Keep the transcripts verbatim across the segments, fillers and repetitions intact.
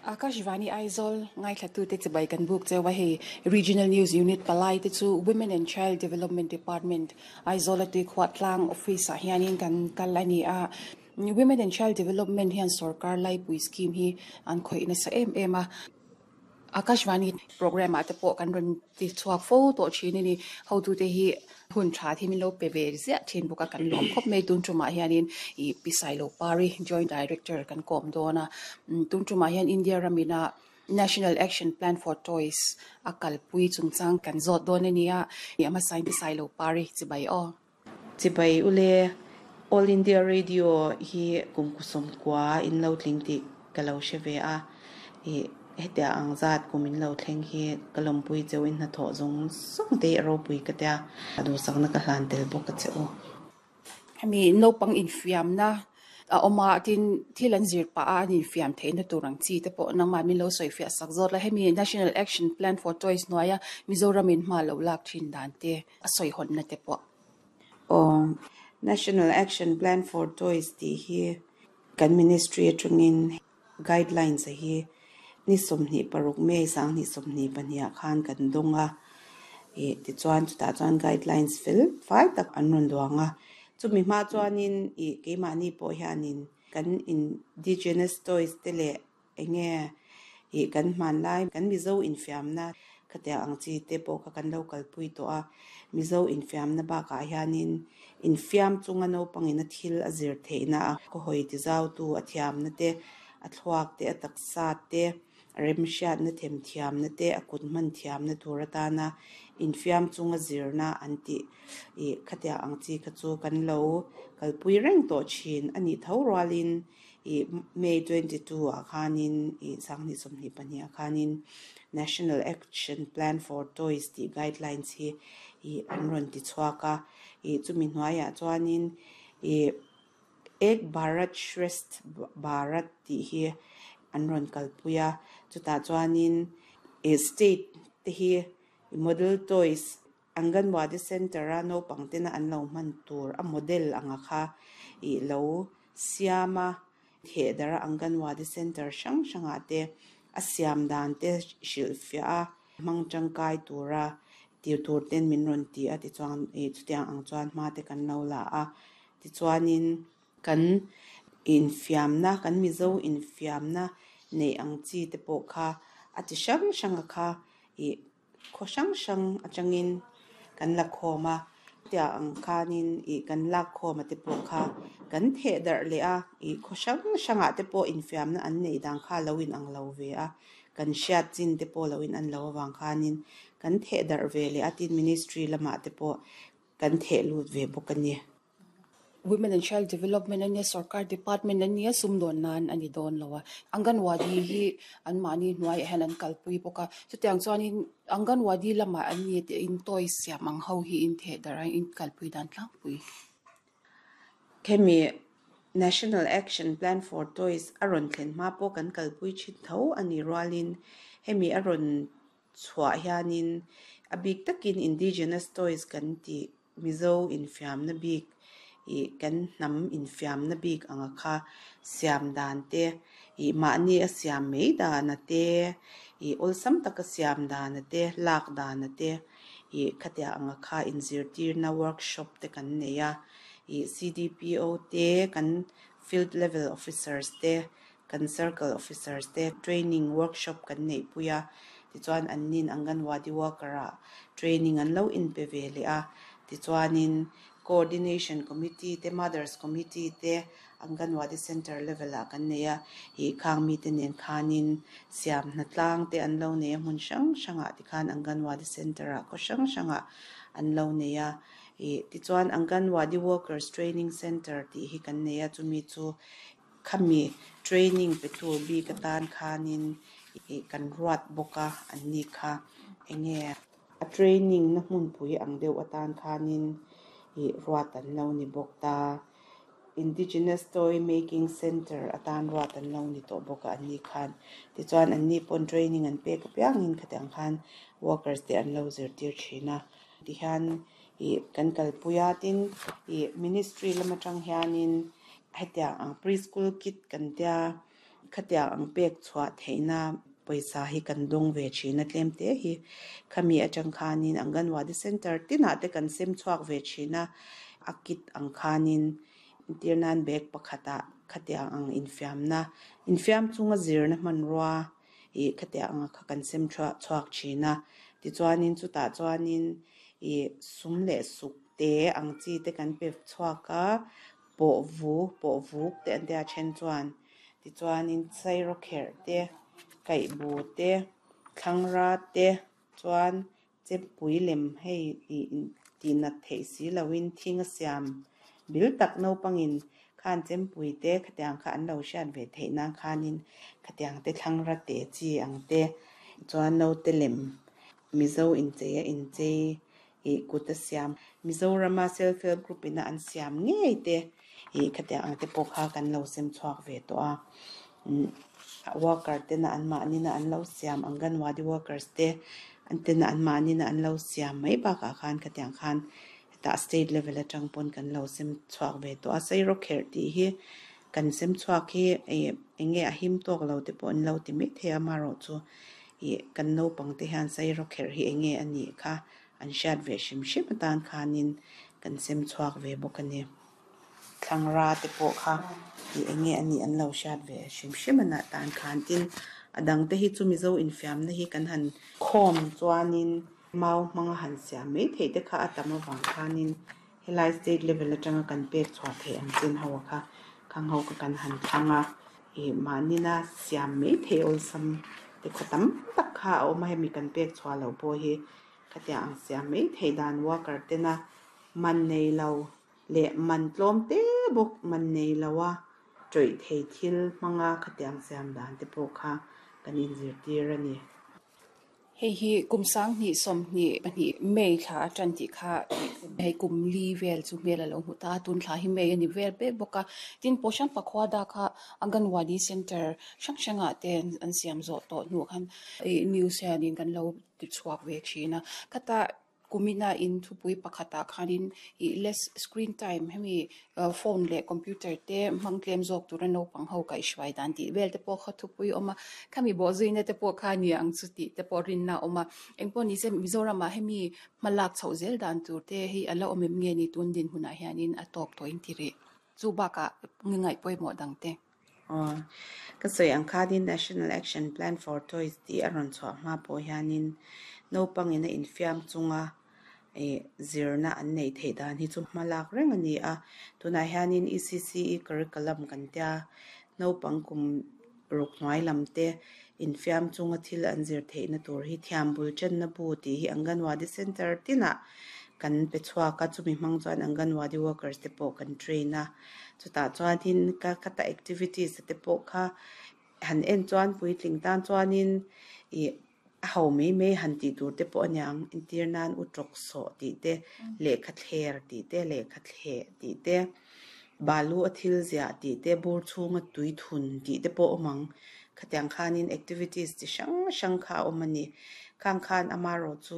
Akashvani Aizawl ngaithla te chibai kan buk chewa hei Regional News Unit palai te chu Women and Child Development Department Aizawl atui khwatlang office a hianin kan kal ani a Women and Child Development hian sarkar laipui scheme hi an khoi na sa em em a Akashvani program ate pawh kan rawn ti chhuak fo tawh thin ani hotu te hi hun tha thi min lo pe ve ziah thin bawk a kan lawm khawp mai tun tumah hianin ih Pi Sailopari Joint Director kan kawm dawn a tun tumah hian India ramina National Action Plan for Toys a kalpui chungchang kan zawt dawn ani a ama sign Pi Sailopari chibai aw Chibai ule All India Radio hi kumkusum kwa in lo tling ti ka lo hre a i hetia ang zat kum in lo thleng hi ka lawmpui cheu in hnathawh zawng zawng te a ropui ka tia a duhsakna ka hlan tel bawk a che u hemi naupang infiamna a awma tin thil an zir pa a an infiam theihna tur ang chi te pawh nangmah min lo sawi fiah sak zawt la hemi National Action Plan for Toys hnuaia Mizoram in hma lo lak thin dan te a sawi hawnna te pawh aw National Action Plan for Toys tih hi kan ministry atangin guidelines a hi ni sawmhnih paruk May sanghnih sawmhnih pahnih ah khan kan dawng a ih tichuan chutah chuan guidelines fel fai tak an rawn duang a chumi hma chuanin ih keimahni pawh hianin kan indigenous toys te leh enge ih kan hmanlai kan Mizo infiamna khatia ang chi te pawh kha kan lo kalpui tawh a Mizo infiamna bakah hianin infiam chunga naupangin a thil a zir theihna a khaw hawi ti zau tu a thiamna te a thluak te a taksa te a remhriatna them thiamna te a kut hman thiamna tur atana infiam chunga zirna an tih ih khatia ang chi kha chu kan lo kalpui reng tawh thin ani tho rualin ih May twenty two ah khanin ih sanghnih sawmhnih pahnih ah khanin National Action Plan for Toys tih guidelines hi ih an rawn ti chhuak a ih chumi hnuaiah chuanin ih Ek Bharat Shresth Bharat tih hi an rawn kalpui a chutah chuanin ih state te hi model toys Anganwadi Center a naupang tena an lo hman tur a model anga kha ih lo siam a thehdar a Anganwadi Center hrang hrangah te a siam dan te hrilh fiah a hmang tangkai tura tir tur ten min rawn ti a tichuan ih chutiang ang chuan hma te kan lo la a tichuanin kan infiamna kan Mizo infiamna neih ang chi te pawh kha a ti hrang hrang a kha ih khaw hrang hrang atangin kan la khawm a tia ang khanin ih kan lak khawm a te pawh kha kan theh darh leh a ih khaw hrang hrangah te pawh infiamna an neih dan kha lo in ang lo ve a kan hriat chin te pawh lo in an lo awang khanin kan theh darh ve leh a tin ministry lamah te pawh kan theh lut ve bawk ani Women and Child Development ania sarkar department ania sumdawn nan ani dawn lo a Anganwadi hi an mahni hnuaiah hian an kalpui bawk a chutiang chuanin Anganwadi lamah an ni te in toys siam ang ho hi in theh darh a in kalpui dan tlangpui Khemi National Action Plan for Toys a rawn thlen hma pawh kan kalpui thin tho ani rualin hemi a rawn chhuah hianin a bik takin indigenous toys kan tih Mizo infiamna bik ih kan hnam infiamna bik anga kha siam dan te ih mahni a siam mai dana te ih awlsam taka siam dana te lak dana te ih khatia anga kha inzirtirna workshop te kan nei a ih C D P O te kan field level officers te kan circle officers te training workshop kan neih pui a tichuan an nin Anganwadi worker ah training an lo inpe ve leh a tichuanin coordination committee te mothers committee te Anganwadi center level ah kan nei a ih khang mi te nen khanin siam hnatlang te an lo nei a hmun hrang hrangah tikhan Anganwadi center ah khaw hrang hrangah an lo nei a ih tichuan Anganwadi workers training center tih hi kan nei a chumi chu khami training pe tur bik atan khanin ih kan ruat bawk a an ni kha enge a training na hmunpui ang deuh atan khanin ih ruat an lo ni bawk ta Indigenous Toy Making Center atan ruat an lo ni tawh bawk a an ni khan tichuan an ni pawn training an pek apiangin khatiang khan workers te an lo zirtir thin a tihian ih kan kalpui a tin ih ministry lam atang hianin hetiang ang preschool kit kan tia Khatia ang pek chhuah theihna pawisa hi kan dawng ve thin a tlem te hi khami atang khanin anganwadi center tinah te kan sem chhuak ve thin a a kit ang khanin tirnan bag pakhatah khatia ang infiamna infiam chunga zirna hmanrua i khatia anga kha kan sem chhuak chhuak thin a tichuanin chutah chuanin i sum leh suk te ang chi te kan pe chhuak a pawh vu pawh vuk te an tia then chuan tichuanin sairawkherh te kaihbu te thlangra te chuan chempui lem hei ih tihnat theih si loin thing a siam bil tak naupangin khan chempui te khatiang kha an lo hriat ve theih nan khanin khatiang te thlangra te chi ang te chuan naute lem mizo inchei a inchei ih kut a siam Mizorama self help group ina an siam ngei te ih khatiang ang te pawh kha kan lo sem chhuak ve tawh a worker te na an mahni na an lo siam anganwadi workers te an te na an mahni na an lo siam mai bakah khan khatiang khan hetah state level atang pawn kan lo sem chhuak ve tawh a sairawkherh tih hi kan sem chhuak hi ih enge a him tawk lo te pawh an lo ti mai thei a amaherawh chu ih kan naupang te hian sairawkherh hi enge a nih kha an hriat ve hrim hrim atan khanin kan sem chhuak ve bawk a ni thlangra te pawh kha ih enge a nih an lo hriat ve hrim hrim ana tan khan tin a dang te hi chu mizo infiamna hi kan han khawm chuanin mau hmanga han siam mai theih te kha a tam avang khanin helai state level atanga kan pek chhuah theih ang chin ho kha khang ho kha kan han thlang a ih mahnina siam mai theih awlsam te khaw tam tak kha a awm a hemi kan pek chhuah loh pawh hi khatia ang siam mai theih dan worker tena man nei lo leh man tlawm te bawk man nei lo a tawih thei thil hmanga khatiang siam dan te pawh kha kan inzirtir a ni. Hei hi kum sang hnih sawm hnih pahnih May thla atan tih kha hei kum li vel chu hmel a lo hmu ta tun thla hi May a ni vel mek bawk a tin Poshan Pakhwada kha Anganwadi center hrang hrangah te an siam zawh tawh hnu khan ih news hianin kan lo ti chhuak ve thin a khata kumina in thupui pakhatah khanin ih less screen time hemi phone leh computer te hmang tlem zawk tura naupang ho kaihhruai dan tih vel te pawh kha thupui awm a khami bawh zuina te pawh kha ni ang chu tih te pawh rinna a awm a engpawh ni se Mizoramah hemi hmalak chhoh zel dan tur te hi a la awm em nge ni tun dinhmunah hianin a tawk tawh in ti rih chu bakah ngaih pawimawh dang te. Aw ka sawi ang khanin National Action Plan for Toys tih a rawn chhuah hma pawh hianin naupangin a infiam chunga ih zirna an neih theih dan hi chu hmalak reng a ni a tunah hianin E C C E curriculum kan tia naupang kum ruk hnuai lam te infiam chunga thil an zir theihna tur hi thiam bul channa bu tih hi Anganwadi center tinah kan pe chhuak a chumi hmang chuan Anganwadi workers te pawh kan train a chutah chuanin ka khata activities te pawh kha han en chuan puitling tan chuanin ih a ho mai mai han tih tur te pawh a niang entir nan utawk sawh tih te lehkha thler tih te lehkha thleh tih te balu a thil ziah tih te bur chhunga tui thun tih te pawh awm ang khatiang khanin activities chi hrang hrang kha a awm a ni khang khan amaherawh chu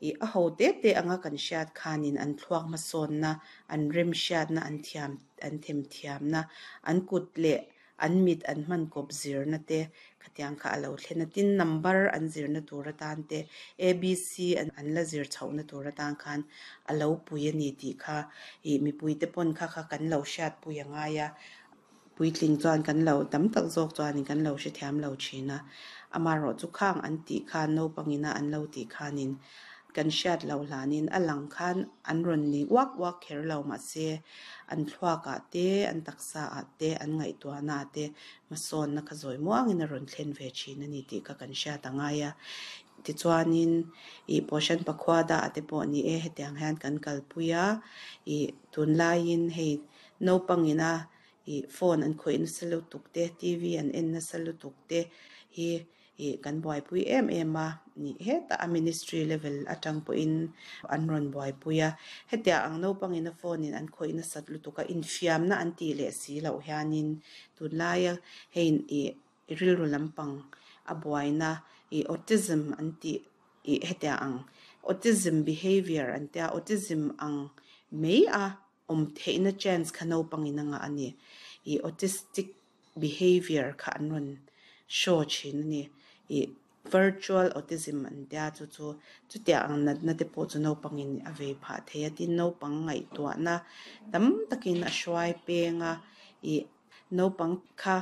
ih a ho te te anga kan hriat khanin an thluak hmasawnna an rem hriatna an thiam an themthiamna an kut leh an mit an hman kawp zirna te khatiang kha a lo thlen a tin number an zirna tur atan te A B C an an la zir chhohna tur atan khan a lo pui a ni tih kha ih mipui te pawn kha kha kan lo hriat pui a ngai a puitling chuan kan lo tam tak zawk chuanin kan lo hrethiam lo thin a amaherawh chu khang an tih khan naupangina an lo tih khanin kan hriat loh hlanin a lang khan an rawn ni uak uak kher lo mahse an thluakah te an taksa ah te an ngaihtuahna ah te hmasawnna kha zawi muangin a rawn thlen ve thin a ni tih kha kan hriat a ngai a tichuanin ih Poshan Pakhwada ah te pawh ni e hetiang hian kan kalpui a ih tunlaiin hei naupangina ih phone an khawih nasa lutuk te T V an en nasa lutuk te hi ih kan buaipui em em a ni hetah a ministry level atang pawhin an rawn buaipui a hetiang ang naupangina phone in an khawih nasat lutuk a infiamna an tih leh si loh hianin tunlaia hei ih rilru lampang a buaina ih autism an tih ih hetiang ang autism behavior an tia autism ang mai a awm theihna chance kha naupangin a ngah a ni ih autistic Behavior kha an rawn show thin a ni. I virtual autism an tia chu chu chutia ang natna te pawh chu naupangin a vei phah thei a, tin naupang ngaihtuahna tam takin a hruai peng a, i naupang kha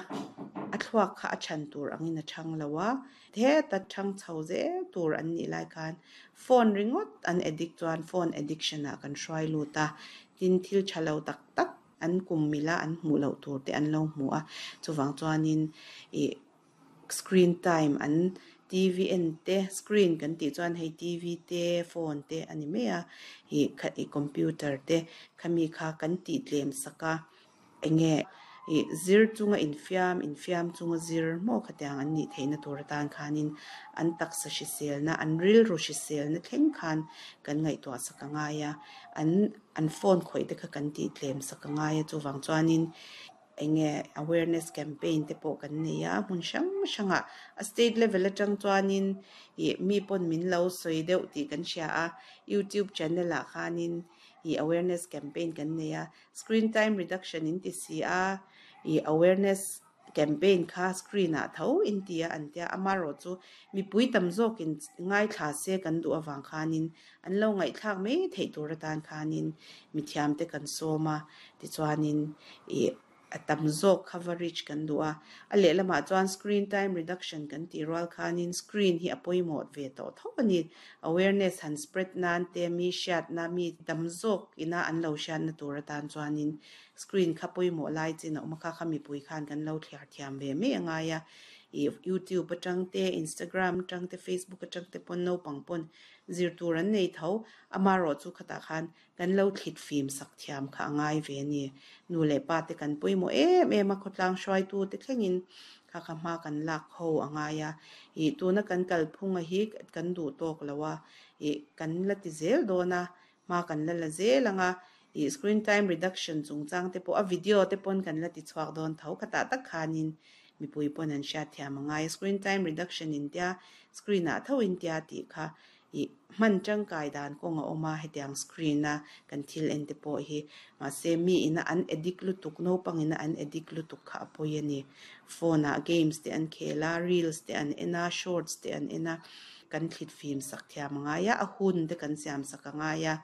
a thluak kha a than tur angin a thang lo a, heta thang chho zel tur an nih lai khan phone ringawt an addict chuan phone addiction ah kan hruai lut a, tin thil tha lo tak tak an kum mila an hmuh loh tur te an lo hmu a, chuvang chuanin i screen time an T V en te, screen kan tih chuan hei T V te, phone te a ni mai a, i kha i computer te khami kha kan tih tlem sak a, enge i zir chunga infiam, infiam chunga zir maw khatiang an nih theihna tur atan khanin an taksa hriselna, an rilru hriselna thleng khan kan ngaihtuah sak a ngai a, an an phone khawih te kha kan tih tlem sak a ngai a, chuvang chuanin enge awareness campaign te pawh kan nei a, hmun hrang hrangah a state level atang chuanin i mi pawn min lo sawi deuh tih kan hria a, YouTube channel ah khanin i awareness campaign kan nei a, screen time reduction in ti si a, i awareness campaign kha screen ah tho in ti a an tia, amarawh chu mipui tam zawkin ngaithla se kan duh awang khanin an lo ngaihthlak mai theih tur atan khanin mithiam te kan sawm a, tichuanin i a tam zawk coverage kan duh a, a lehlamah chuan screen time reduction kan tih rual khanin screen hi a pawimawh ve tawh tho a ni, awareness han spread nan te mi hriatna mi tam zawk ina an lo hriatna tur atan chuanin screen kha pawimawh lai chin a awm a, kha kha mipui khan kan lo thliar thiam ve mai a ngai a, i YouTube atang te, Instagram atang te, Facebook atang te pawn naupang pawn zir tur an nei tho, amarawh chu khatah khan kan lo thlit fim sak thiam kha a ngai ve a ni, nu leh pa te kan pawimawh em em a, khawtlang hruaitu te thlengin kha kha hma kan lak ho a ngai a, i tuna kan kalphunga hi kan duh tawk lo a, i kan la ti zel dawn a, hma kan la la zel anga, i screen time reduction chungchang te pawh a video te pawn kan la ti chhuak dawn tho khatah tak khanin mipui pawn an hriat thiam a ngai, screen time reduction in tia screen ah tho in tia tih kha i hman tangkai dan kawng a awm a, hetiang screen a kan thil en te pawh hi mahse mi ina an addict lutuk naupang ina an addict lutuk kha a pawi a ni, phone ah games te an khel a, reels te an en a, shorts te an en a, kan thlit fim sak thiam a ngai a, a hun te kan siam sak a ngai a,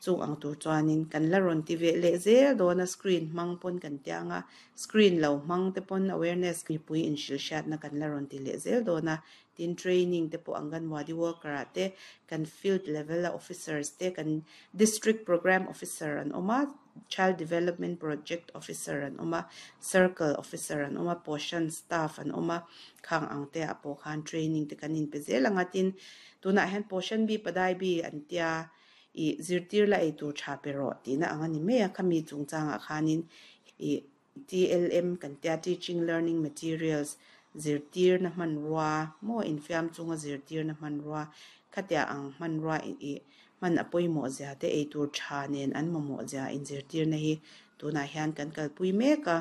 chung ang tur chuanin kan la rawn ti ve leh zel dawn a, screen hmang pawn kan tiang a, screen lo hmang te pawn awareness mipui inhrilh hriatna kan la rawn ti leh zel dawn a, tin training te pawh anganwadi worker ah te kan field level a officers te kan district program officer an awm a, child development project officer an awm a, circle officer an awm a, poshan staff an awm a, khang ang te ah pawh khan training te kan inpe zel anga, tin tunah hian poshan bi padai bi an tia i zirtir la ei tur tha pe rawh tihna ang a ni mai a, khami chungchangah khanin i T L M kan tia teaching learning materials zirtir na hmanrua maw infiam chunga zirtir na hmanrua khatia ang hmanrua i hman a pawimawh zia te ei tur tha nen an mamawh zia inzirtir na hi tunah hian kan kalpui mek a,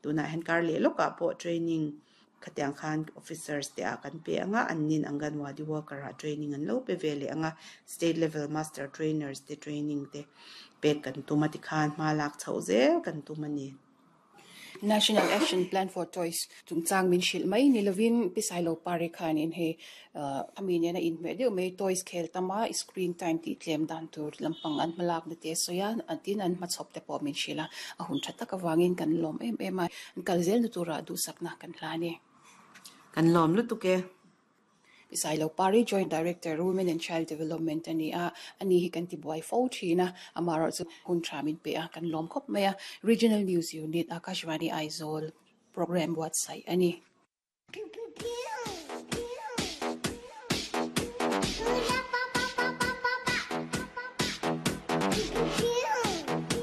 tunah hian kar leh lawkah pawh training khatiang khan officers te ah kan pe anga, an nin anganwadi worker ah training an lo pe ve leh anga, state level master trainers te training te pek kan tum a, tikhan hma lak chhoh zel kan tum a ni. National Action Plan for Toys chungchang min hrilh mai ni lovin Pisailo Pari khanin hei ami nena inhmeh deuh mai toys khel tama screen time tih tlem dan tur lampang an hmalak na te sawi a, tin an hmachhawp te pawh min hrilh a, a hun tha tak awangin kan lawm em em a, an kal zel na turah duhsakna kan hla a ni. Kan lawm lutuk e. Pisailo Pari, Joint Director, Women and Child Development ani a, ani hi kan ti buai fo thin a, amarawh chu hun tha min pe a, kan lawm khawp mai a. Regional News Unit, Akashvani Aizawl program buatsaih ani. Pew, pew, pew. Pew.